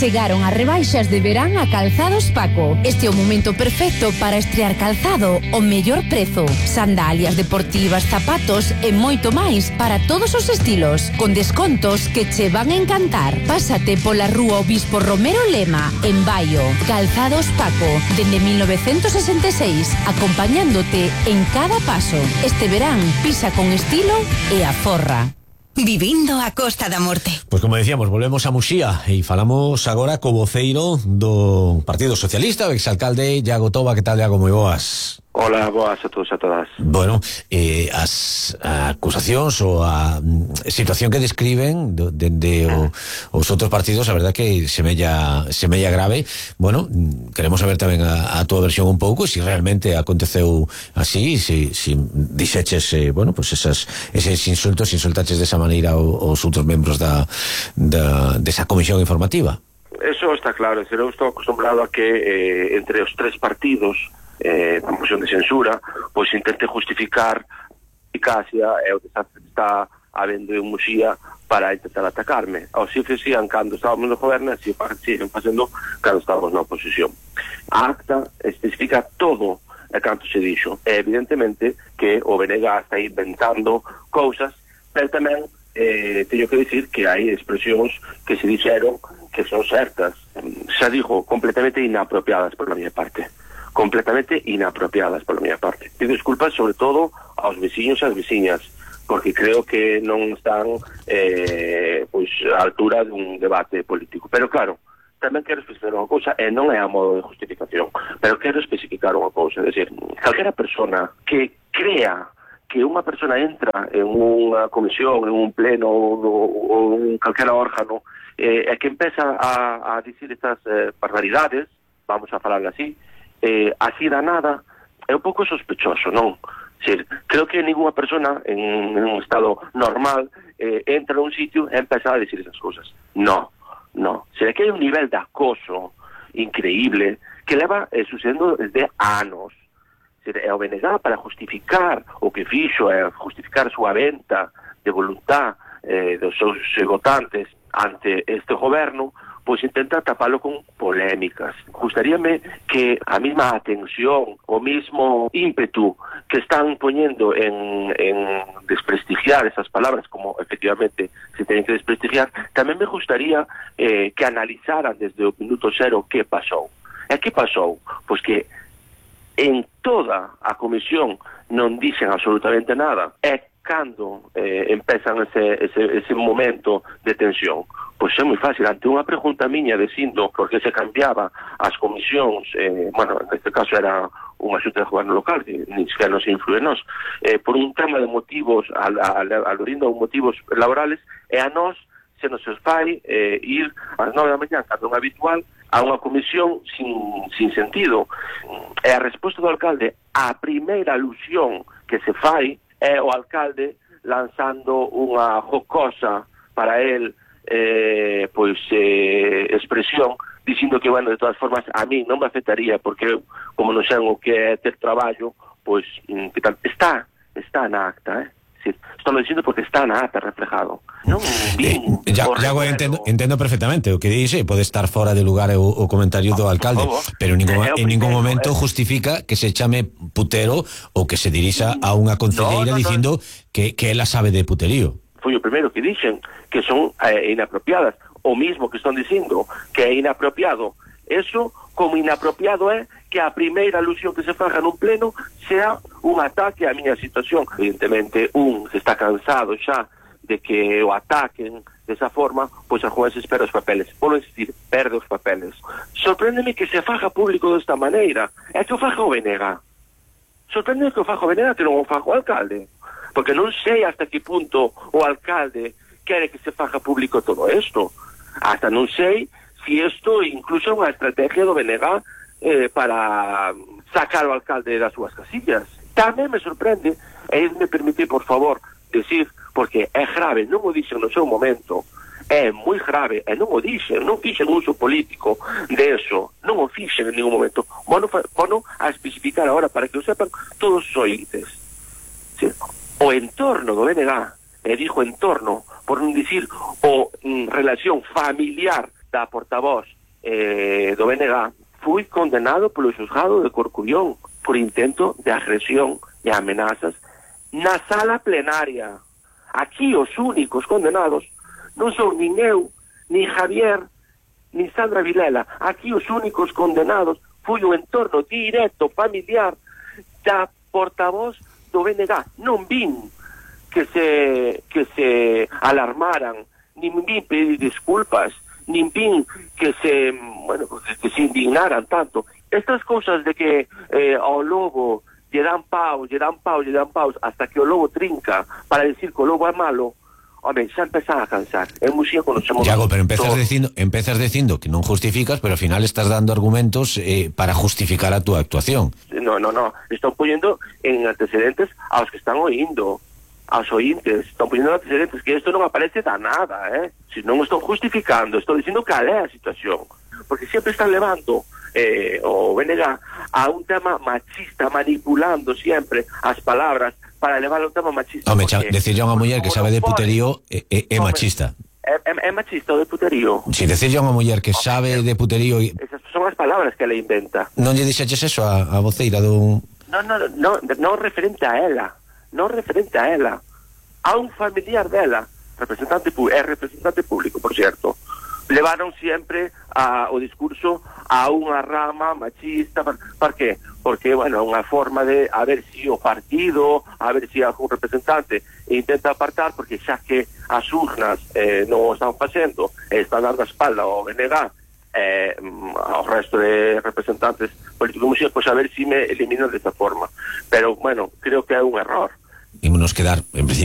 Chegaron as rebaixas de verán a Calzados Paco. Este é o momento perfecto para estrear calzado ao mellor prezo. Sandalias deportivas, zapatos e moito máis para todos os estilos, con descontos que che van a encantar. Pásate pola rúa Obispo Romero Lema, en Baio. Calzados Paco, dende 1966, acompañándote en cada paso. Este verán, pisa con estilo e aforra. Vivindo a Costa da Morte. Pois como decíamos, volvemos a Muxía e falamos agora co voceiro do Partido Socialista, o exalcalde Iago Toba. Que tal, Iago? Moi boas. Hola, boas a todos e a todas. Bueno, as acusacións ou a situación que describen dende os outros partidos, a verdad que semella grave. Bueno, queremos saber tamén a túa versión un pouco, se realmente aconteceu así, se dixeches, bueno, pues eses insultaches desa maneira aos outros membros desa comisión informativa. Eso está claro, eu estou acostumbrado a que entre os tres partidos da moción de censura, pois intente justificar eficacia e o desastre que está habendo en Muxía para intentar atacarme. Así facían cando estábamos no goberno, así siguen facendo cando estábamos na oposición. A acta especifica todo e canto se dixo. E evidentemente que o BNG está inventando cousas, pero tamén teño que dicir que hai expresións que se dixeron que son certas, xa digo, completamente inapropiadas por la miña parte. Completamente inapropiadas pola miña parte. Pido disculpas sobre todo aos veciños e ás veciñas, porque creo que non están pois á altura dun debate político. Pero claro, tamén quero especificar unha cousa, e non é a modo de justificación, pero quero especificar unha cousa, é dicir, calquera persona que crea que unha persona entra en unha comisión, en un pleno ou en calquera órgano e que empeza a dicir estas barbaridades, vamos a falar así, así da nada, é un pouco sospechoso, non? Creo que ninguna persona en un estado normal entra en un sitio e empeza a decir esas cousas. No. Será que hai un nivel de acoso increíble que leva sucedendo desde anos. É o BNG para justificar o que fixo, justificar a súa venta de voluntad dos seus votantes ante este goberno, pois intenta tapalo con polémicas. Gustaríame que a mesma atención, o mismo ímpetu que están poñendo en desprestigiar esas palabras, como efectivamente se tienen que desprestigiar, tamén me gustaría que analizaran desde o minuto cero que pasou. E que pasou? Pois que en toda a comisión non dixen absolutamente nada. É cando empezan ese momento de tensión. Pois é moi fácil, ante unha pregunta miña dicindo por que se cambiaba as comisións, bueno, neste caso era unha xunta de goberno local, que ni siquiera nos influe nos, por un tema de motivos, alorindo motivos laborales, e a nós se nos fai ir ás 9 da mañá, cando é habitual, a unha comisión sin sentido. E a resposta do alcalde, a primeira alusión que se fai é o alcalde lanzando unha jocosa para el expresión, dicindo que, bueno, de todas formas a mí non me afectaría porque eu, como non sei o que é ter traballo, pois que tal, está na acta, Sí, estou dicindo porque está na acta reflejado. Non, Iago, entendo perfectamente o que dice, pode estar fora de lugar o comentario do alcalde, pero en ningún momento justifica que se chame putero ou que se dirixa a unha concelleira dicindo que ela sabe de puterío. Foi o primeiro que dixen que son inapropiadas, o mismo que están dicindo que é inapropiado. Eso, como inapropiado é que a primeira alusión que se faga nun pleno sea un ataque á miña situación. Evidentemente, se está cansado xa de que o ataquen desa forma, pois a juez espera os papeles. Volvo a insistir, perde os papeles. Sorpréndeme que se faga público desta maneira. É que o faga o BNG. Sorpréndeme que o faga o BNG, que non o faga o alcalde. Porque non sei hasta que punto o alcalde quere que se faga público todo isto. Hasta non sei si isto incluso é unha estrategia do BNG para sacar o alcalde das súas casillas. Tamén me sorprende, e me permite, por favor, decir, porque é grave, non o dixen no seu momento, é moi grave, e non o dixen, non fixen uso político de eso, non o fixen en ningún momento. Bueno a especificar agora para que o sepan todos os ointes. Sí. O entorno do BNG, e dixo entorno, por non dicir o relación familiar da portavoz do BNG, fui condenado polo xuzgado de Corcubión por intento de agresión e amenazas na sala plenaria. Aquí os únicos condenados non son nin eu, nin Javier, nin Sandra Vilela. Aquí os únicos condenados foi o entorno directo familiar da portavoz do BNG. Non vin que se alarmaran, nin vin pedir disculpas, nin vin que se indignaran tanto. Estas cousas de que ao lobo lle dan paus hasta que o lobo trinca para decir que o lobo é malo, home, xa empezan a cansar. En Muxía conocemos... Iago, pero empezas dicindo que non justificas, pero ao final estás dando argumentos para justificar a túa actuación. No, están poniendo en antecedentes aos que están oindo, aos ointes, están poniendo antecedentes, que isto non aparece da nada, si non están justificando, estou dicindo cal é a situación, porque sempre están levando o BNG a un tema machista, manipulando sempre as palabras para levar a un tema machista. Home, decirle a unha muller que sabe de puterío é machista. É machista o de puterío. Si decirle a unha muller que sabe de puterío... Esas son as palabras que ela inventa. Non lle dixeches eso a voceira dun... Non referente a ela. Non referente a ela. A un familiar dela, representante público, por cierto, levaron sempre o discurso a unha rama machista. Por qué? Porque, bueno, unha forma de a ver si o partido, a ver si algún representante intenta apartar, porque xa que as urnas non o están facendo, están dando a espalda ao BNG, ao resto de representantes políticos, pues a ver si me eliminan desta forma. Pero, bueno, creo que é un error. Ímonos quedar, en principio,